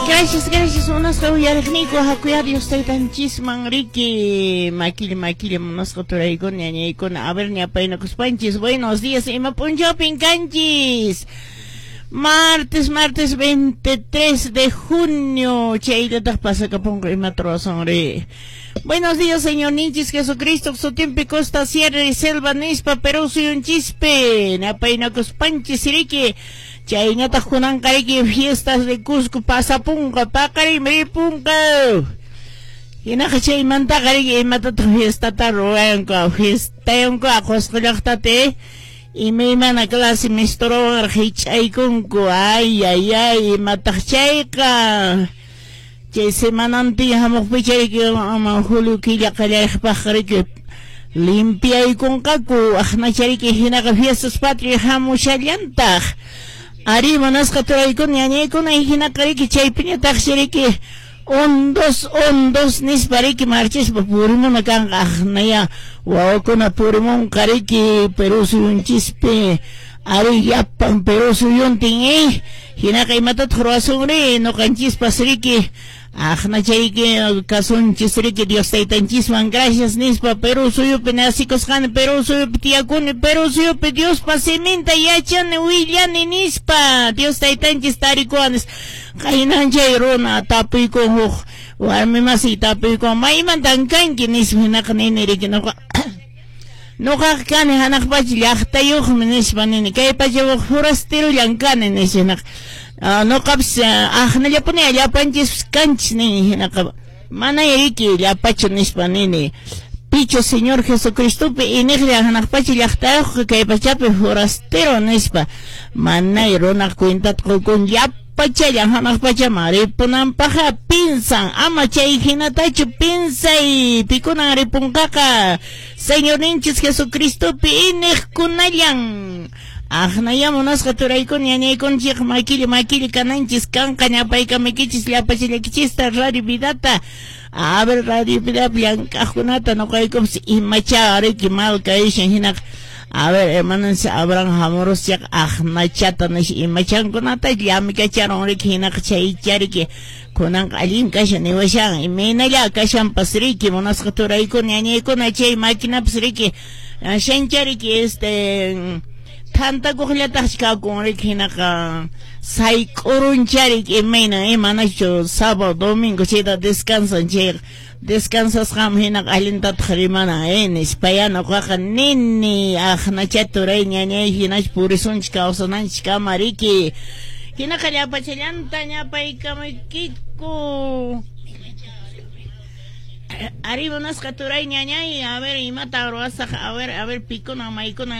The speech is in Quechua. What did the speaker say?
Gracias, gracias, munasqa uyariqniyku, hakuya Dios taytanchisman riki, makilla, makilla munasqa turaykuna, ñañaykuna, a ver, ñapaynakuspanchis, buenos días, ima p'unchawpin kanchis. Martes, martes 23 de junio, chayllataq pasakapunqa imata ruwasunri. Buenos días, Señorninchis Jesucristo, sutinpi Costa Sierra y Selva nispa Perú suyunchispi, ñapaynakuspanchis riki. Chayñataq kunanqa riki fiestas de Cusco pasapunqa, paqarinmi ripunqa. Hinaqa chaymantaqa riki imatataq fiestata ruwayanku, fiestayanku Qusqu llaqtata, imaymana clase misturuwan hich'aykunku, ay ay ay, imataq chayqa. Chay semanantin hamuqpicha riki julio killa qallariypaqqa riki limpiaykunqaku, aqnacha riki hinaqa fiestas patrias hamushallantaq. Ari munasqa turaykuna ñañaykuna hinaqa riki chaypiñataqsi riki un dos nispa riki marchaspa purimuna kanqa aqnaya wawakuna purimunqa riki Perú suyunchispi ari llapan Perú suyuntin hinaqa imatataq ruwasunri ñuqanchispas riki aqnachayki kasunchis riki Dios taytanchisman gracias nispa Perú suyupi nacikusqani, Perú suyupi tiyakuni, Perú suyupi Diospa siminta yachani willani nispa Dios taytanchis tarikuwanis. Qaynan chay runa tapuykun huk warmi masiy tapuykun maymantan kanki nispa hinaqa nini riki nuqa nuqaqa kani hanaq pacha llaqtayuqmi nispa nini kay pacha forastirullan kani nispa hinaqa nuqapas aqnallapuni llapanchispas kanchis nini hinaqa mana riki llapachu nispa nini pichu Señor Jesucristopi iniqlla hanaq pacha llaqtayuqqa kay pachapi forastero nispa manay runaq cuentata qukun llapachallan hanaq pachaman ripunanpaqqa pinsan ama chay hinatachu pinsay pikunan ripunqaqa Señorninchis Jesucristopi iniqkunallan. Aqnaya munasqa turaykuna ñañaykunchik makilla makilla kananchis kanqa ñapaykamuykichis llapachallakichista Radio Vidata. A ver Radio Vidapi llank'aqkunata nuqaykupas imacha riki mal kayashan hinaqa a ver hermananchis Abraham hamuruschaqa aqnachata nish imachankunata llamikacharun riki hinaqa chaycha riki kunanqa allin kashan niwashan imaynalla kashanpas riki munasqa turaykuna ñañaykuna chay maquinapas riki shancha riki este thantakuqllataqchi kakun riki hinaqa sayk'uruncha riki imayna manachu sábado domingo chayta descansan chayqa descansasqanmi hinaqa allintataq rimana nispaya nuqaqa nini aqnacha turay ñañay hinachu purisunchik kawsananchik kama riki hinaqa llapachallanta ñapaykamaykiku. Ari munasqa turay ñañay a ver imata ruwasaq a ver pikuna maykuna.